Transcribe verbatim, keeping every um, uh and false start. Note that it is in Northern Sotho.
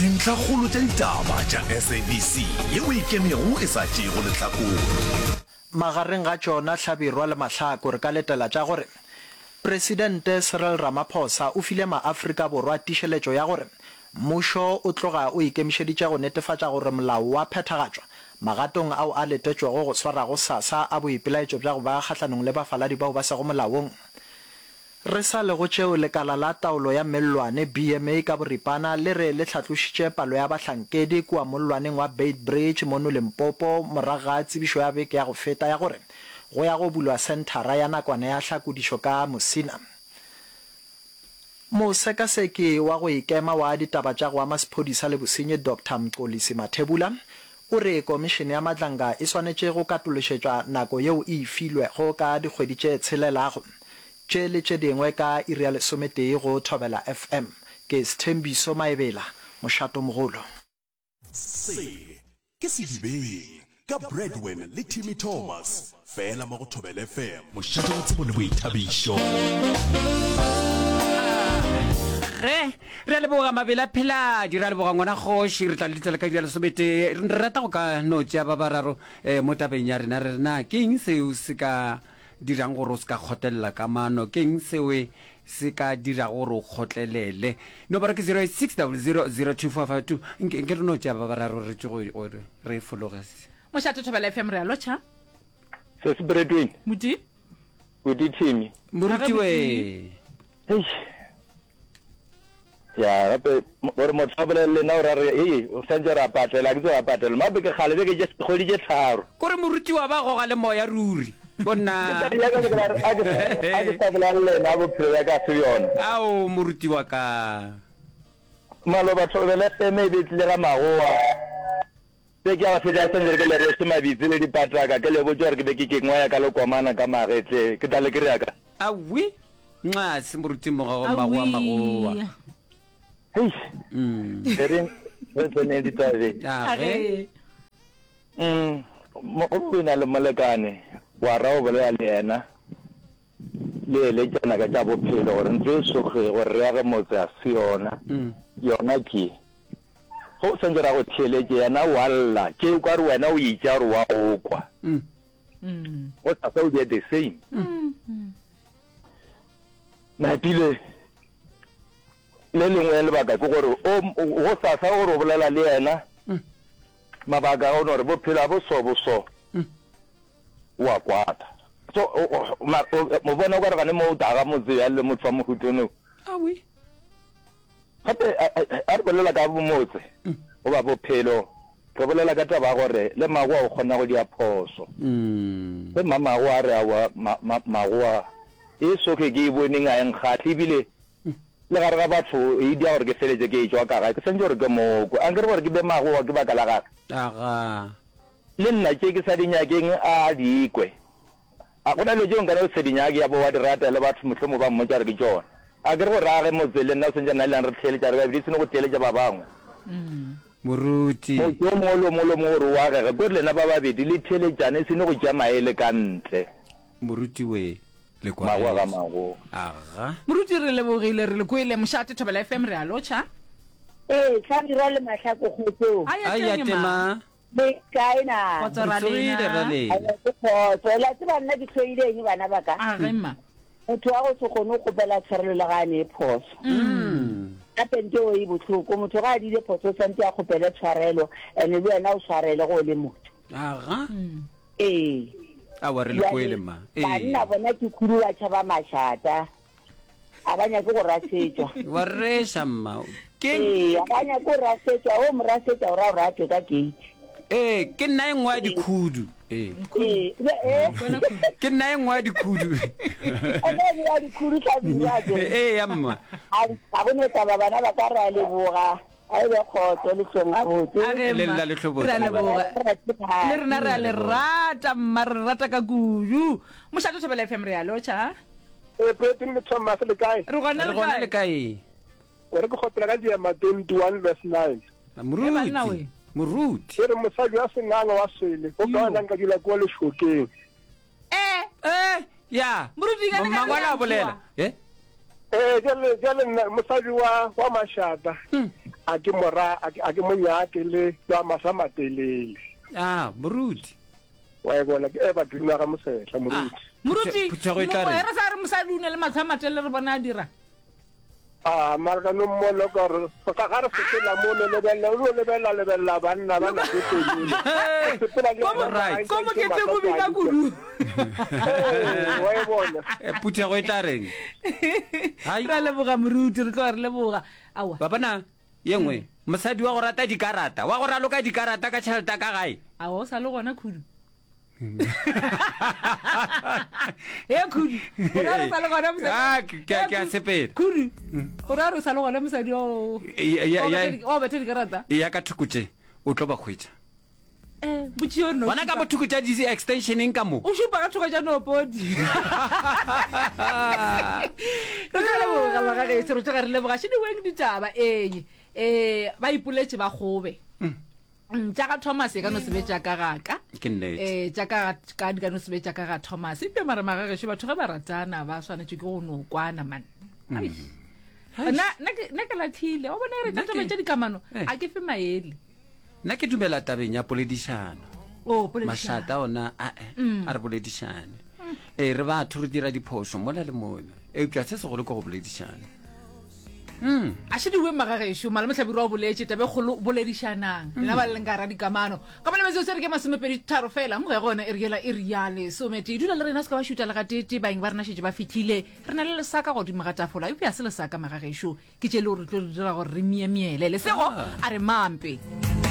Dintlhakgolo tša ditaba tša S A B C yeo e ikemego e sa tšeego lehlakore. Magareng ga tšona Hlabirwa le Mahlako re ka letela tša gore Presidente Cyril Ramaphosa o file maAfrika Borwa tišeletšo ya gore mmušo o tloga o ikemišeditše go netefatša gore molao wa phethagatšwa magatong ao a letetšwego go swara gosasa a boipelaetšo bja go ba kgahlanong le bafaladi bao ba sego molaong. Re sa le go tšeo, lekala la taolo ya mellwane, B M A ka boripana, le re le hlatlošitše palo ya bahlankedi kua mollwaneng wa Beitbridge mono Limpopo morago ga tsebišo ya beke ya go feta ya gore go ya go bulwa senthara ya nakwana ya hlakodišo ka Musina. Mosekaseki wa go ikema wa ditaba tša go ama sephodisa le bosenyi Doctor Mxolisi Mathebula o re komišene ya Madlanga e swanetše go katološetšwa nako yeo e e filwego ka dikgwedi tše tshelelago. Tše le tše dingwe ka iri ya lesometee go Thobela F M. Ke Sthembiso Maebela, Mošatomogolo. Se ke Sedibeng ka Bradwin le Timmy Thomas, fela mo go Thobela F M, mošate wa tsebo le boithabišo. Ge re a leboga mabele a pheladi, re a leboga ngwana kgoši, re tla le ditlela ka iri ya lesometee. Re rata go ka no tšea ba bararo um mo tabeng ya rena, re re na ke eng seo se ka dirang gore o se ka kgotlelela kamano, ke eng seo se ka dirago gore o kgotlelele. Nomoro ke zero eight six double zero zero two four five two. Nke nke re no tšea ba bararo re tšwe gore re fologe. Mošate Thobela F M, re a lotšha. Se se Bretwin. Moruti. Buti Timmy. Moruti we. Eish. Ya gape gore motho a bolele le nna o ra re ee o santse ra patela ke tse ra patela mabe ke kgale beke tše kgwedi tše tharo. Kore morutiwa ba goga le moya ruri bonna. A ke sa bolela le nna bophelo bja ka se bjona. Ao moruti wa ka. Maloba Thobela F M e be tlile ga magoa. Be ke ya go fetša santse ke le rweše mabitsi le dipataka ke le botše gore ke be ke kengwa ya ka lekomana ka magetleng ke tla le kry-a ka. Awi nxase moruti mogogo magoa magoa. Heish. E reng re tseneng ditabeng. Age. Mm, go o na le molekane wa ra o bolela le yena le eletšana ka tša bophelo gore ntlo e soge gore re age motse a se yona yona ke go o santse ra go theeletše yena wa lla tše o ka re wena o itša gore wa go kwa go sasa o be the same napile le lengwe lebaka ke gore o go sasa gore o bolela le yena mabaka a gore bophelo a bo so bo so wa kwata so mo bona o ka re gane mo o taga motse ya le motho wa mohutone. Awi. Gape a re bolela ka motse goba bophelo, re bolela ka taba ya gore le magoa o kgona go dia phoso. Ge mamagoa a re aowa magoa e soke ke e boneng a e nkgahle ebile le gare ga batho e dia gore ke feletse ke etšwa ka gae ke santse gore ke mokwe a nkere gore ke be magoa ke baka la gage. Aga. Le nna tše ke sa di nyakeng a di kwe. A go na dilo tšeo nkana o se di nyake ya bo wa di rata le batho mohlomongwe ba mmotša gore ke tšona. A ke re gore a ge motse le nna o santse nna le yena re theeletša re babedi e seno go theeletša ba bangwe. Moruti. Motse o mongwe le o mongwe le o mongwe gore o agege ke gore lena ba babedi le theeletšane e seno go tšea maele ka ntle. Moruti we le Magoa ga magoa. Aga. Moruti re lebogile re le kwele. Mošate Thobela F M re a lotšha. Ee, Hlabirwa le Mahlako kgotsong. A ya teng ma. Le kae na? Kgotso ra Re tsogile lena. ra lena. Aowa, ke kgotso. La tseba nna ke hloile eng bana ba ka? A ge mma. Motho wa go se kgone go kgopela tshwarelo le ga a ne phoso. Gape nto eo e bohloko. Motho ga a diile phoso o santse a kgopele tshwarelo and le wena o tshwarele go o le motho. Aga. Ee. Aowa re le Bjale, kwele ma. Ee. Banna bona ke khudu ba tšhaba mašata. A ba nyake go rasetšwa. Wa reša mma. Ke Ee, a ba nyake go rasetšwa. O mo rasetša o ra gore a tšwe ka gate. Ee, ke nna e nngwe ya dikhudu. Ee. Ee, be- eh. Ke nna e nngwe ya dikhudu. Ene e ya dikhudu Hlabirwa ke. Ee ya mma. A ga go ne taba bana ba ka re a leboga. A e be kgotso le hlong gabotse. A ge Le mma. lla le hlobotse. Re a leboga. Le rena re a le rata mma, re rata ka kudu. Mošate Thobela F M re a lotšha. Ee, President le Thomas le kae? Re gona Re le gona le kae? kae? Gore ke kgopela ka Diema twenty-one verse nine. Eh, banna Moruti. we. Moruti. E re mosadi wa senganga wa swele o ka ona nka dula kua lešokeng. Eh, Eh, ya. Moruti, ka ne ka Mangwalo a re bolela. Eh? Eh, jale jale nna mosadi wa wa mašata. A ke mora a ke a ke mo nyake le wa masa matelele. Ah, moruti. Wa e bona ke Evergreen wa ga Mosetla moruti. Moruti, Phuthego e tla reng? re sa re mosadi o ne le matlho a matelele re bona a dira. Ah, mara ka no mmona ka re ga ga re sepela mo no lebelela o no lebelela lebelela banna ba nako e telele. O sepela le Ko mo- yena, Right. ko moketeng o bina kudu. Ee, wa e bona. Eh, Phuthego e tla reng? Hai. Re a leboga moruti, re tloga re leboga. Aowa. Ba bona ye nngwe mosadi wa go rata dikarata, wa go raloka dikarata ka tšhelete ya ka gae. Aowa o sa le gona khudu. He khudu, o ra re sa le gona mosadi. Ah, ke- ke- ke a sepela. Khudu, o ra re sa le gona mosadi o. Ya- ya- ya- O bethe dikarata. Ya ka thoko tše o tlo ba hwetša. Eh, botšiyo no. Bona ka bothoko tša di-extensioneng ka mo. O šupa ka thoko tša nopodi. Re tla leboga bagageso, re tloga re leboga šediweng ditaba ee. Eh, ba ipoletše ba kgobe. Mm, tša ga Thomas e ka no se be tša ka ga ka. Ke nnete. Eh, tša ka ga ka di ka no se be tša ka ga Thomas. Eupša mara magagešo batho ge ba ratana ba swanetše ke go no kwana man. Ai. Nna nna ke nna ke lathile. O bona re Nna ke- tša tša dikamano Eh. a ke fe maele. Nna ke dumela tabeng ya poledišano. Oh, poledišano. Mašata ona a a re boledišane. Ee, re batho re dira diphošo mola le mola. Eupša se segolo ke go boledišana. A šediwe magagešo malome Hlabirwa o boletše tabe kgolo boledišanang lena ba leng ka ra dikamano ka bone metsotso e re ke masomepedi tharo fela mo ge gona e re yela e re ya lesometee dula le rena se ka ba šuta le gatete baeng ba rena šetše ba fihlile re na le lesaka godimo ga tafola eupša se lesaka magagešo ke tše le gore re tlo re dira gore re miemiele lesego a re mampe.